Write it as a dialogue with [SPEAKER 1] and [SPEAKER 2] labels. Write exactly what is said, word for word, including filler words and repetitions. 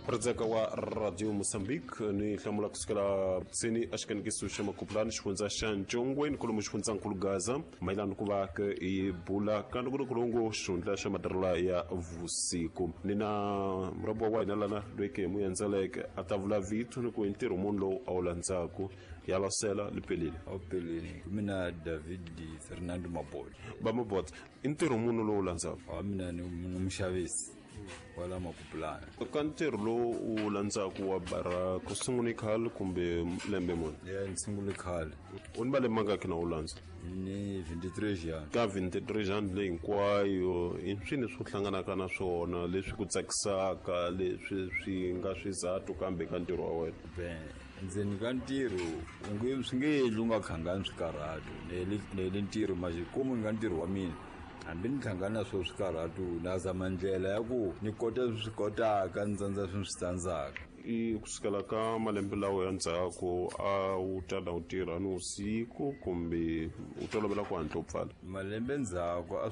[SPEAKER 1] Ritseka wa Radio Mozambique ni hlamula kusukela tsini axikanikiso xa Makupulani, xifundza xa Ncongweni, kolomu xifundzankulu Gaza, mayelana ku va ke hi bula ka ntukunukulungu xihundla xa matirhelo ya vusiku. Ni na murabo wa hina lana loyi ke hi mu endzeleke a ta vula vito ni ku i ntirho muni lowu a wu landzaku. Ya losela lipelile.
[SPEAKER 2] Awupeleli, mina David Fernando Mabolo.
[SPEAKER 1] Va Mabot, i ntirho muni lowu landzaku?
[SPEAKER 2] Wa mina ni ni muxavisi wala Makupulani.
[SPEAKER 1] Ka ntirho lowu u landzaku wa bara, ku sungule khale kumbe lembe muni?
[SPEAKER 2] Ya, ni sungule khale.
[SPEAKER 1] U ni malembe mangaki na u landza?
[SPEAKER 2] Ni twenty-three yani.
[SPEAKER 1] Ka twenty-three yani leyi hinkwayo, i swini swo hlanganaka na swona leswi ku tsakisaka, leswi swi nga swizathu kambe ka ntirho wa wena?
[SPEAKER 2] Ben, ndzeni ka ntirho u nge swi nge endli u nga khangani swikarhato. Nele nele ntirho maxikomu ni nga ntirho wa mina, hambi ni hlangana na swo swikarhato, na zama ndlela ya ku ni kota leswi swi kotaka, ni tsandza swi swi tsandzaka.
[SPEAKER 1] I kusukela ka malembe lawa ya ndzhaku, a wu tala u tirha ni vusiku kumbe u tolovela ku hatla u pfala?
[SPEAKER 2] Malembe ndzhaku a